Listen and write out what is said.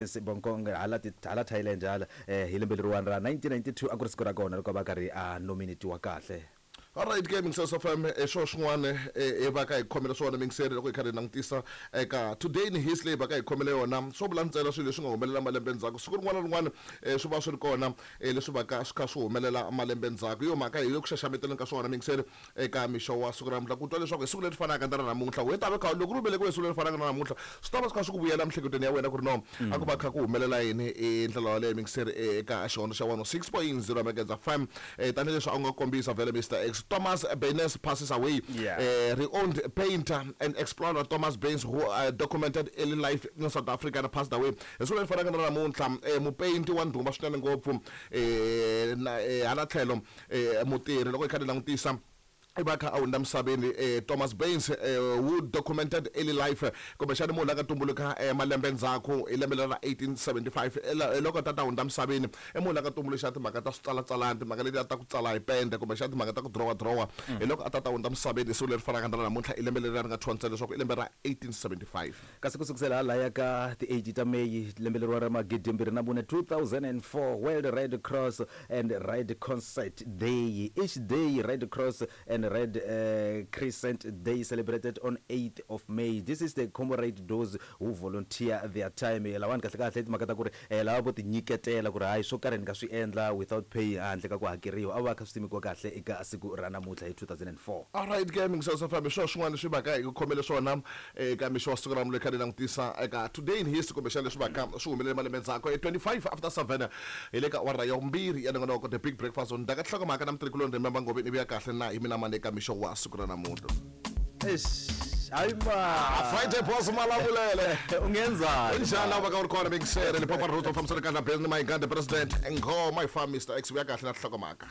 Bangkok hala ti hala Thailand hala hi lembe leriwani ra 1992 a ku ri siku ra kona loko a va karhi a nominatiwa kahle. Alright ke Mingiseri FM hi swona swin'wana hi va ka hi khomele swona Mingiseri loko hi karhi hi langutisa eka today in history leyi va ka hi khomele yona swo vula ntsena swilo leswi nga humelela malembe ndzhaku siku rin'wana na rin'wana swi va swi ri kona leswi va ka swi kha swi humelela malembe ndzhaku hi yo mhaka hi le ku xaxameteleni ka swona Mingiseri eka mixo wa siku ra namuntlha ku twa leswaku hi siku leri fanaka na ra namuntlha we ta va kha loko ri velekiwe hi siku leri fanaka na namuntlha swi ta va swi kha swi ku vuyela emiehleketweni ya wena ku ri no a ku va kha ku humelela yini hi ndlela yaleyo mingiseri eka xihondzo xa 106.0 Megahertz FM tanihileswi a wu nga kombisa vhele Mr X Thomas Baynes passes away renowned painter and explorer Thomas Baynes who documented early life in South Africa and passed away hi siku leri fanaka na namuntlha mupeyinti wa ndhuma swinene ngopfu na hala tlhelo Mutirhi loko hi kha ni langutisa i va a kha a hundza misaveni Thomas Baines who documented early life kumbexana munhu la nga tumbuluka malembe ndzhaku hi lembe leri ra 1875 hi loko tata hundza misaveni i munhu la nga tumbuluxa timhaka ta switsalatsalani timhaka letiya ta ku tsala hi pende kumbexana timhaka ta ku dirowa dirowa hi loko a tata hundza misaveni hi siku leri fanaka na ra namuntlha i lembe leri ri nga thyiwa ntsena leswaku i lembe ra 1875. Kasi ku sukusela halaya ka ti 8 ta May lembe leriwa ra 2004, 2004, World Red Cross and Red Concert Day. Each day Red Cross and Red Crescent Day celebrated on 8th of May. This is to commemorate those who volunteer their time. Lawani kahle kahle i timhaka ta ku ri lava vo tinyiketela ku ri hayi swo karhi ni nga swi endla without pay handle ka ku hakeriwa a va kha swi simekiwa kahle eka siku ra namuntlha hi 2004. Alright ke mingiselo swa fambi swona swin'wana leswi va ka hi ku khomele swona Eka mixo wa siku ra namuntlha hi kha hi langutisa eka Today in History kumbexana leswi vaka swi humelele malembe ndzhaku. 25 after 7 hi le ka awara ya vumbirhi ya nongonoko The Big Breakfast. Ndaka tinhlokomhaka na mutirhikuloni Remember Ngove ni vuya kahle na hi mina mani eka mixo wa siku ra namuntlha. Eish, hayi ma. Ah, Friday boss malavulele. Ungenzani? Njhani lava ka u ri kona Big Sere Limpopo Roots fambisana kahle na Benny Mayengani the president Nghoma yi famba Mr X vuya kahle na tinhlokomhaka.